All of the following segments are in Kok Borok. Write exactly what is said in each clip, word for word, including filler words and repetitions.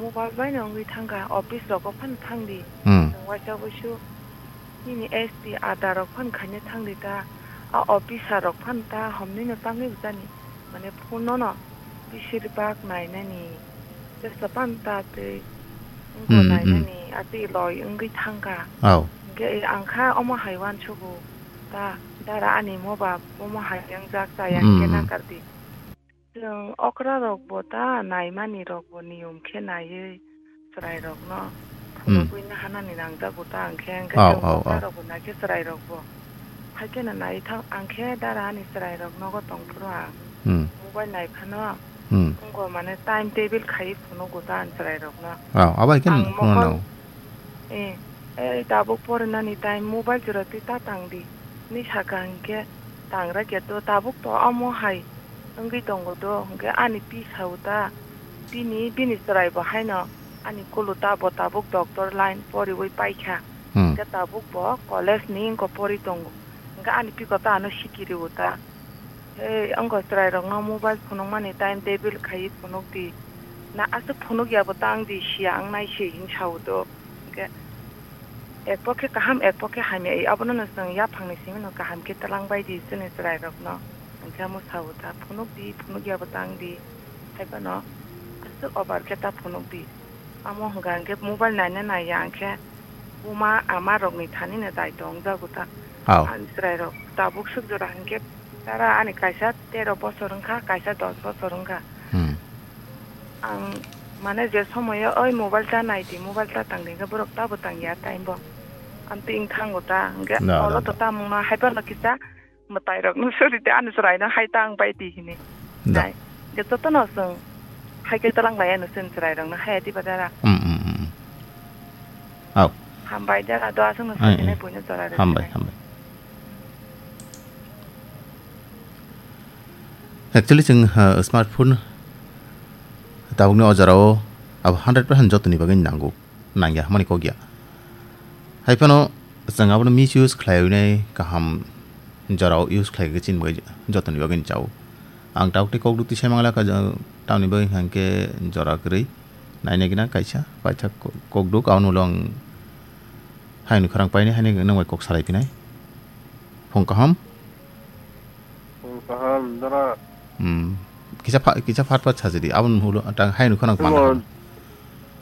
Mobile bai no wngwi thangkha, office rogo phano thangdi. Hmm. Chwng waisa wuisu nini S T ada rok phano khaina thangdi ta, a officer rok phano ta homnino tangwi bujani. Mane phone no no bisir bak nainani. Tesa phano ta tei wngbo Hmm, hmm. nainani, atwi loi wngwi thangkha. Au. Hwnkhe ang kha omo hai uansugo ta, dara ani mobile omo hai wngjak chaya Hmm, hwnkhe hmm. nakardi. Chwng okra rok bo ta naimani rok bo niyom khe naiwi chwrai rok no Hmm. phunugwi nahanani nangjago ta ang khe, ang khe Au, chwng au, okra au. rok bo naikhe chwrai rok bo. Haikhe no nai thang ang khe dara ani chwrai rok nogo tong phuru ang. Hmm. Mobile nai phano Hmm. wngkha mane time table khai phunugo ta ang chwrai rok no. Au, abo hai khe Ang phunu mokol nang. Eh, eh, tabuk porinani time mobile jora twi ta tangdi. Ni saka hinkhe tangra khe to tabuk to amo hai wngwi tongo do, hinkhe ani pi sao ta. Bini, bini chwrai bo haino ani kulu ta bo tabuk doctor line poriwi paikha. Hmm. Hinkhe tabuk bo college ni wngkha pori tongo. Hinkhe ani piko ta ano sikiriwo ta. Hei, wngkha chwrairokno mobile phunukmani time table khaiwi phunukdi. Na aswk phunukya bo tangdi, siya wngnai se hwn sao do. Hinkhe ek pokhe kaham, ek pokhe hamya, abono no chwng yaphangni simi no kaham khe twlang bai di chwngni chwrairokno. Hinkhe amo sao ta, phunukdi, phunukya bo tangdi. Haiphano aswk over khe ta phunukdi. Amo hwnkha hinkhe mobile naina naiya hinkhe buma ama rokni thani no daito wngjago ta. Hao. Ani chwrairok tabuk swk jora hinkhe dara ani kaisa tero bosor wngkha, kaisa dos bosor wngkha. Hmm. Ang mane je somoyo oi mobile ta naidi, mobile ta tangdi hinkhe borok tabo tangya time bo. Amtwi wngthango ta hinkhe Da, da, olo to da. Tamungno haiphano kisa mwtairokno sori de, ani chwraino hai ta ang bai di hini. Da. Hai. Ge jotono chwng hai khe twlang lai ano chwng chwrairokno hai di ba dara. Mm, mm, mm, mm. Au. Hambai dara do aswkno Ai, sori ai. Nai buino jora rw Hambai, sinai. Hambai. Actually chwng, uh, smartphone tabukni o jorao abo hundred percent jotoni bagwi nango. Nangya hwnmani kok ya. Hai phano chwng abono misuse khlaiwi nai kaham jorao use khlai khe chini bagwi jotoni bagwi ni chao. Ang tabuk tei kok duk twi sai mangla kha, tamni bagwi hwnkhe jora kwrwi naina gina kaisa paithak ko-, kok duk, abono ulo ang hayungni khorang painai, haino nwng bai kok salai phinai. Phung kaham. Phung kaham, dara. Hmm. Kisa pha-, kisa phat phat sajadi. Aboni ulo tang hayungni khorang Imo, panda.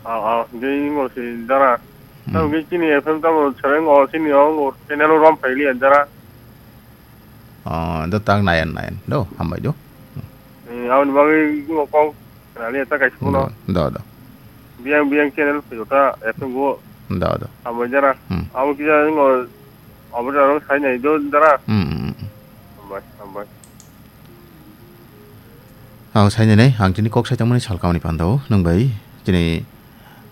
Aw, aw, hingke imo si dara. Hmm. Tamo hingke chini F M tamo sereng o, chini o, o channel o rom phailiya, dara. Oh, do tang nayan, nayan. Do, hambai do. Hmm. Eh, aboni bagwi imo kok Rali eta kaisa phone. Do, do, do. Biyang, biyang channel phaio ta, F M go. Do, do. Abo jara. Hmm. Abo kisa ngo, abo jara sai nai do jara. Hmm, hmm, hmm. Hambai, hambai. Abo sai nai, ang tini kok sai tongmani sal kamani pandao, nung bai, tini,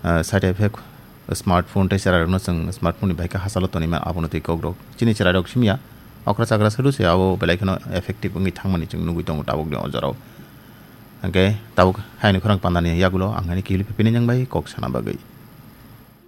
ah, side effect, smartphone tei chwrairokno chwng smartphone ni bai khe hachalo tonima, abono twi kokrok. Chini chwrairok simiya, okra chakra sadu se abo belai kheno effective wngwi thangmani chwng nugwi tongo tabukni o jorao. Hwnkhe tabuk hayungni khorang pandani yagulo ang haino kihilwi phaiphini nang bai kok sana bagwi.